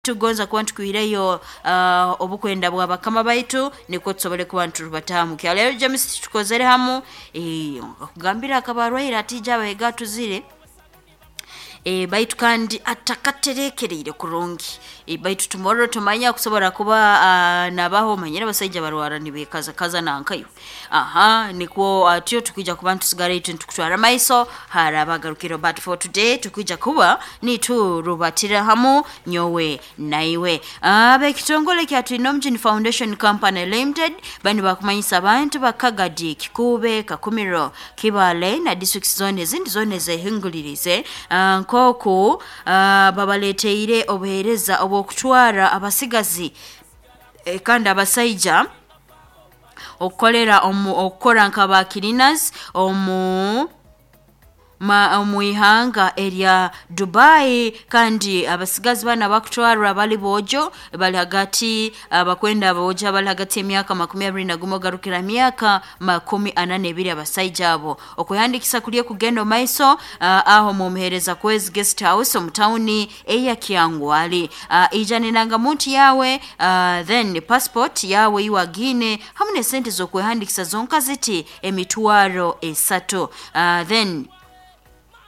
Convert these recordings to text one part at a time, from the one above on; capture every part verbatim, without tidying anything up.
Tugonza kuba ntukwireyo uh, obukwenda bwa bakama baitu nikwo tusobole kuba nturubatamu. Kyaleero James tukozere hamu eh, kugambira akabarwaire atija abahega tuzire e, baitu kandi atakaterekereire kurungi e, baitu tomorrow tumanya kusobora kuba uh, nabaho manyira abasaija barwara nibekaza kaza nankayo aha nikwo atyo tukwija kuba ntusigara itu ntukutwara maiso harabagarukiro. But for today tukwija kuba niturubatira hamu nyowe naiwe. Ab'ekitongole kya Twinomjini Foundation Company Limited bani bakumanyisa abantu bakagadi Kikube, Kakumiro, Kibale na district zone ezindi zone zehingulirize uh, nkoku uh, babaleteire obuheereza obw'okutwara abasigazi eh, kandi abasaija okukolera omu okukora nka ba cleaners omu ma omu ihanga erya Dubai. Kandi abasigazi bana bakutwarwa bali bojo bali hagati abakwenda bojo bali hagati y'emyaka makumi abiri na gumu ogarukira myaka makumi ana n'ebiri abasaija abo okuhandikisa kuliye kugenda maiso uh, aho mumuhereza kwezi guest house omu tawuni eya Kyangwali. uh, ijana muntu yawe uh, then passport yawe iwagine hamwe n'esente z'okwehandikisa zonka ziti emitwaro esatu. uh, then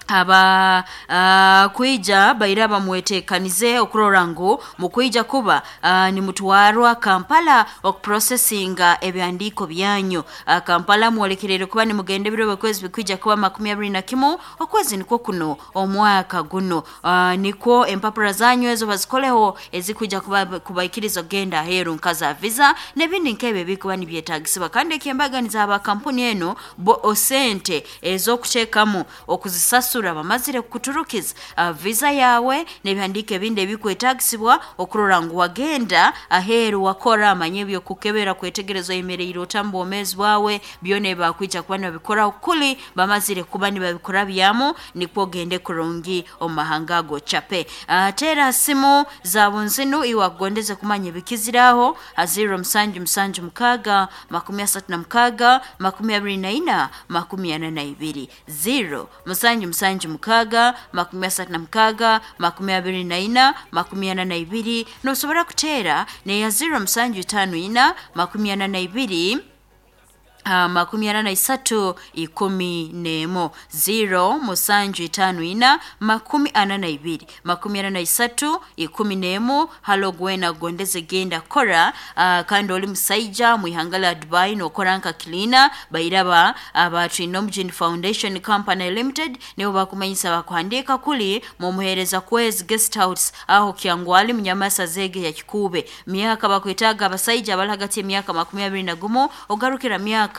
aba uh, kwija baira bamwetekanize okurora ngu mukwija kuba uh, nimutwarwa Kampala okuprocesinga ebyandiiko byanyu. uh, Kampala mwolekerere kuba nimugenda ebiro byokwezi bikwija kuba makumi abiri na kimu okwezi nikwo kuno omwaka guno. uh, nikwo empapura zanyu ezo bazikoleho ezikwija kuba kubaikiriza okugenda aheeru nka za visa n'ebindi nk'ebyo ebikuba nibyetagisibwa. Kandi ekyembaganiza aba kampuni eno bo osente ez'okuteekamu okuzisasura bamazire kukuturukiza uh, visa yawe n'ebihandiiko ebindi ebikwetagisibwa okurora ngu wagenda aheeru wakora amanye ebyokukebera kwetegereza oyemereire ota mu bwomeezi bwawe byona ebibakwija kuba nibabikora kuli bamazire kuba nibabikora byamu nikwo ogende kurungi omu mahanga ago chape. uh, teera simu za bunzinu iwe akugondeze kumanya ebikiziraho ha zero musanju musanju mukaaga makumi asatu na mukaaga makumi abiri na ina makumi ana na ibiri zero musanju musanju mukaaga makumi asatu na mukaaga makumi abiri na ina makumi ana na ibiri. Nosobora kuteera neya zero musanju itaano ina makumi ana na ibiri Uh, makumi ana na isatu ikumi n'emu zero musanju itaano ina makumi ana na ibiri makumi ana na isatu ikumi n'emu. Halo gwena gondeze genda kora uh, kandi oli musaija mwihanga lya Dubai nokora nka cleaner bairaba aba Twinomjini Foundation Company Limited nibo bakumanyisa bakuhandika kuli mumuhereza kwezi guest house aho Kyangwali munyamasa zege ya Kikube. Myaka bakwetaga abasaija abali hagati y'emyaka makumi abiri na gumu ogarukira myaka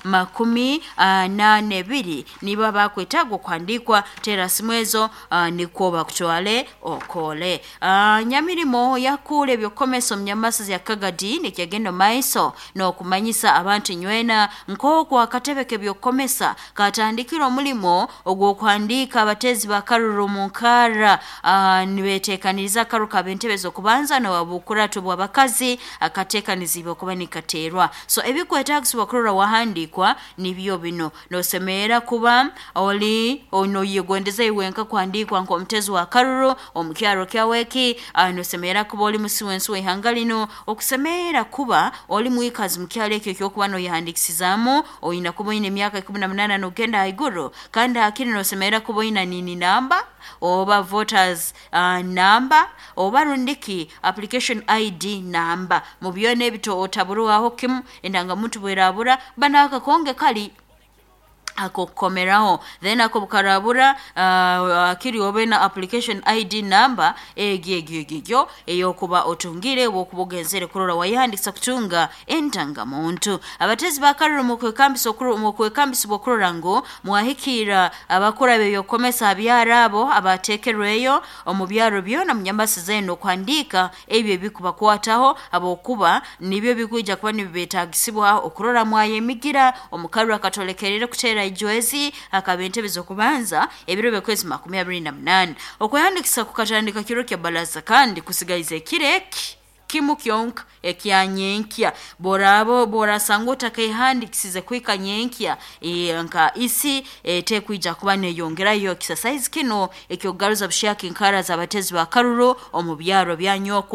makumi ana n'ebiri niba bakwetagwa kuhandikwa tera simu ezo uh, nikwo bakutwale okole. uh, nyamirimo yakule ebyokukomesa omunyamasa ya Kagadi nikyagenda maiso n'okumanyisa abantu nywena nk'oku akatebe k'ebyokukomesa katandikira omulimo ogw'okuhandiika abatezi bakaruru mu nkara uh, nibeteekaniriza akaru kab'entebe z'okubanza n'obukuratu bw'abakazi akateekanizibwa okuba nikateerwa. So ebikwetagisibwa kurora wahandikwa nibyo bino nosemeera kuba oli noyegondeza iwenka kuhandikwa nk'omutezi wa karuru omukyaro kyaweki. uh, nosemeera kuba oli musi wensi w'ihanga lino okusemeera kuba oli mwikazi mukyaro ekyo ekyokuba noyehandikisizaamu oyina kuba oyina emyaka ikumi na munaana n'ogenda haiguru. Kandi hakiri nosemeera kuba oyina nini namba oba voters uh, namba oba rundiki application I D namba mu byona ebito otaburwaho kimu endangamuntu bwerabura bana akakonge kali akokukomeraho then ako bukarabura uh, akiri obe na application I D number egyo egyo egyo eyokuba otungire wokuba ogenzere kurora wayihandikisa kutunga endangamuntu. Abatezi bakaruru mu kwekambisa mu kwekambisibwa okurora ngu mwahikira abakora ebyokukomesa abyaro abo abateekerweyo omu byaro byona munyamasi zenu okuhandika ebyo ebikubakwataho abokuba nibyo bikwija kuba nibibetagisibwa okurora mwayemigira omukaru akatolekerere kuteera ijwezi akaba entebe z'okubanza ebiro by'okwezi makumi abiri na munaana. Okuhandikisa kukatandika kiro kya balaza kandi kusigaiza ekiro eki Kimu kyonka ekya nyenkya. Borabo borasanga otakaihandikisize kwika nyenkya, e, nka isi etekwija kuba neyongerayo exercise kino ekyokugaruza bushaka enkara z'abatezi ba karuru omu byaro bya nyoko.